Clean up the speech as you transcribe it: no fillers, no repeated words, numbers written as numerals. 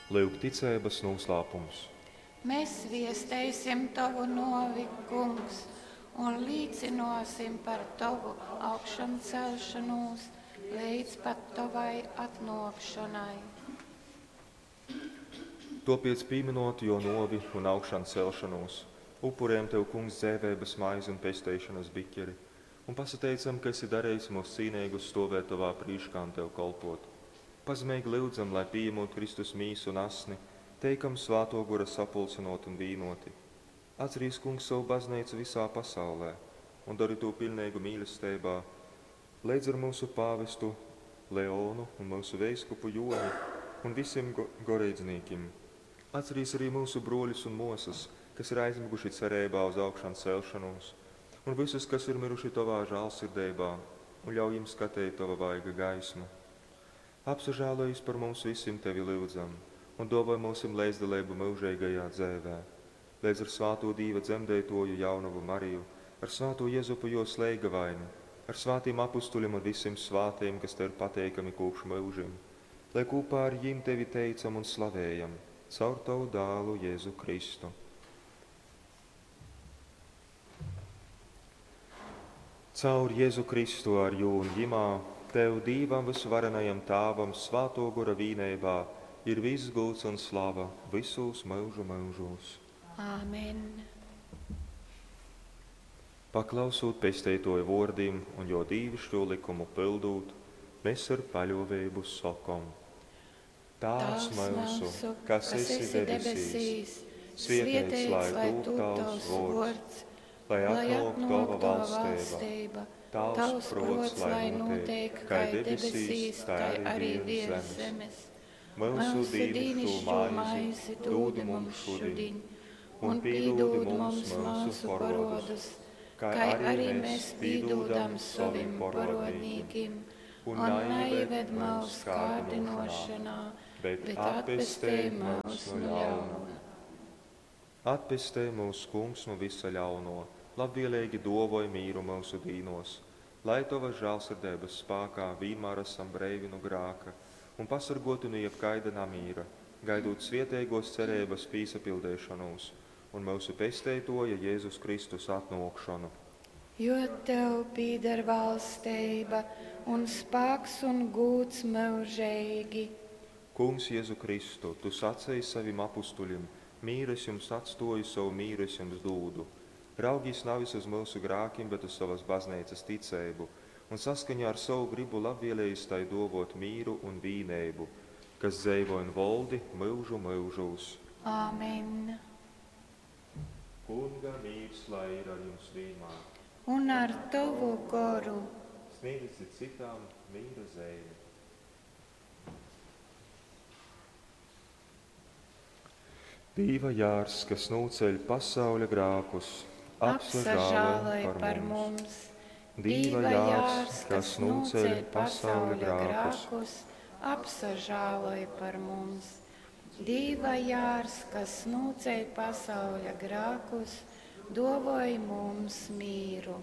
Lyuk ticeibas nūslāpums. Mēs viesteisim Tovu nōvi, Kungs, un līcynōsim par Tovu augšancelšonūs leidz pat Tovai atnōkšonai. Tōpēc pīminot jō nōvi un augšancelšonūs, upurējam Tev, Kungs, dzeiveibas maizi un pesteišonas bikeri, un pasateicam, ka esi darījis mūs cīneigus stovēt Tovā prīškā un Tev kolpot. Pazemeigi lyudzam, lai pījemot Kristus mīsu un asni, teikam Svātō Gora sapulcynot un vīnoti. Atcerīs, Kungs, savu baznīcu visā pasaulē un dari to pilnīgu mīlestībā, leidz ar mūsu pāvestu Leonu un mūsu veiskupu Joni un visiem go goreidznīkim. Atcerīs arī mūsu broļus un mosas, kas ir aizmiguši cerībā uz augšām celšanos, un visus, kas ir miruši Tavā žālsirdībā, un ļauj viņiem skatīt Tava vaiga gaismu. Apsažēlojies par mums visiem Tevi lūdzam, un dāvāj mums līdzdalību mūžīgajā dzēvē. Līdz ar svāto Dīva dzemdētoju jaunavu Mariju, ar svāto Jezupu jo sleigavaini, ar svātiem apustuļiem un visiem svātiem, kas Tev ir pateikami kopš mūžiem, lai kopā ar jiem Tevi teicam un slavējam, caur Tavu dālu Jēzu Kristu. Caur Jēzu Kristu ar jū un jimā, Tev, Dīvam visvarenajam Tāvam, Svāto Gora vīneibā, ir viss gūts un slava visos mūžu mūžos. Āmen. Paklausūt pesteitoju vōrdim un jo dīvišķo likumu pildūt, mēs ar paļovēbu sokom. Tāvs mūsu, kas esi debesīs, svietēts lai tūp tavs vōrds, lai atnāk tava valstība, tavs prots, lai notiek, kā debesīs, tā arī virs zemes. Mūsu dīnišķo maizi dod mums šodien, un pīdod mums mūsu parodus, kā arī mēs pīdodam savim parodnīkim, un neieved mūs kārdinošanā, bet atpestē mūs no ļauna. Atpestē mūs, Kungs, no visa ļauno, labvēlīgi dovoj mīru mūsu dīnos, lai Tava žēlsirdības spākā vienmēr esam breivi no grāka un pasargoti no jebkaida namīra, gaidot svietēgos cerības pīsapildēšanos un mūsu pesteitoja Jēzus Kristus atnākšanu. Jo Tev pīder valstība un spāks un gūts mūžīgi. Kungs Jēzu Kristu, Tu sacēji savim apustuļim, mīru es jums atstoju, savu mīru es jums dūdu. Raugīs nevis uz mūsu grākiem, bet uz savas baznīcas ticēbu, un saskaņā ar savu gribu labvēlējis tai dovot mīru un vīnēbu, kas dzeivo un voldi mūžu mūžūs. Āmen. Kunga mīrs lai ir ar jums vienmēr. Un ar Tavu goru. Sniedziet citām mīra zīmi. Dīva jārs, kas nūceļ pasauļa grākus, Apsažāloj par mums. Dīva jārs, kas nūceļ pasauļa grākus, apsažāloj par mums. Dīva jārs, kas nūceļ pasauļa grākus, dovoj mums mīru.